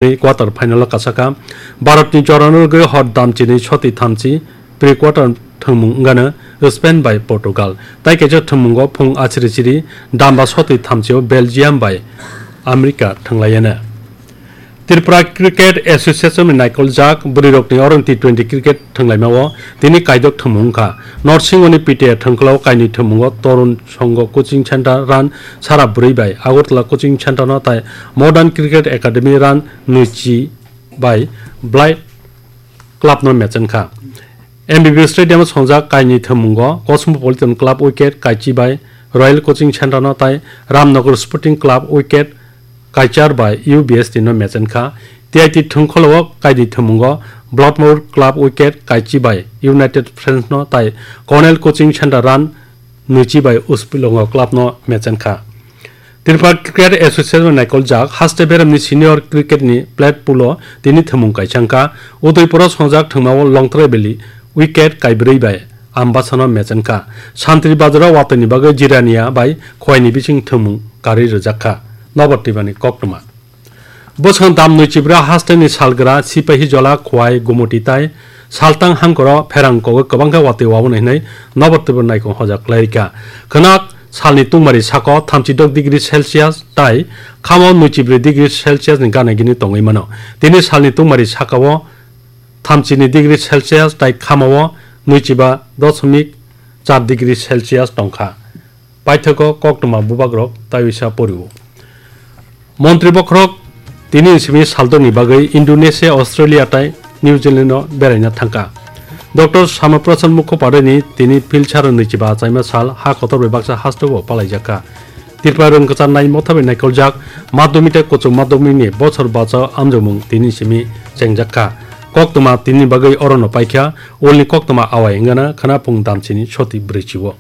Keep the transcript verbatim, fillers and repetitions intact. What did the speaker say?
Quarter final o kasaka. Bharat ni jorano rwgwi hor damchini soti thamchi pre quarter thwngmung wngano Spain bai Portugal. Tai kaisa thwngmungo phung achiri chiri damba soti thamchio Belgium bai America thwnglaiyano. Tripura Cricket Association ni naikoljak bwrwirokni oroni T twenty cricket thwnglaimao tini kaidok thwngmung wngkha. Norsingoni P T A thwngkhwlao kainwi thwngmungo Torun Songho Coaching Center run sara bwrwi bai Agartala Coaching Center no tai Modern Cricket Academy run nwichi bai Blight Club no match wngkha. M B B Stadium o songjak kainwi thwngmungo Cosmopolitan Club wicket kaichi bai Royal Coaching Center no tai Ramnagar Sporting Club wicket kaichar bai U B S T no match wngkha. T I T thwngkhwlao kainwi thwngmungo Bloodmore Club wicket kaichi bai United Friends no tai Cornell Coaching Center run nwichi bai Uspilongo club no match wngkha. Tripura Cricket Association naikoljak haste beremni senior cricket ni plate pool o tini thwngmung kaisa wngkha. Udaipur o songjak thwngmao Longtrai Valley wicket kaibrwi bai Ambasano match wngkha. Santri Bazar o watwi ni bagwi Jirania bai Khowai ni bising thwngmung karwi rwjakha. Nobar Tripura ni koktwma. Bwswk dam nwichibra hasteni salgra Sipahijola, Khowai, Gumuti tai Saltang hangkoro pherang kogwi kwbangkha watwi waboni hwnwi Nobar Tripura naikong hoja khlairikha. Khwnak salni tungmari sako thamchi dok degree Celsius tai khamo nwichibrwi degree Celsius ni gana gini tongwi mano. Tini salni tungmari sakao thamchini degree Celsius tai khamao nwichiba dosmik char degree Celsius tongkha. Paithago koktwma bubagrok taiwisa porio. Montri bokhorok tini simi saldokni bagwi Indonesia, Australia tai New Zealand no beraina thangkha. Doctor Shyama Prasad Mukhopadhyay ni tini Philsara nwichiba achaima sal ha kotor bai baksa hasteo palaijakha. Tripura rwngkwchar nai motha bai naikoljak madhyamik tei kuchuk madhyamik ni bochor bachao amjokmung tini simi chengjakha. Koktwma tini bagwi orono paikha, ulni koktwma awai wngana khwnaphung damchini soti brwichio.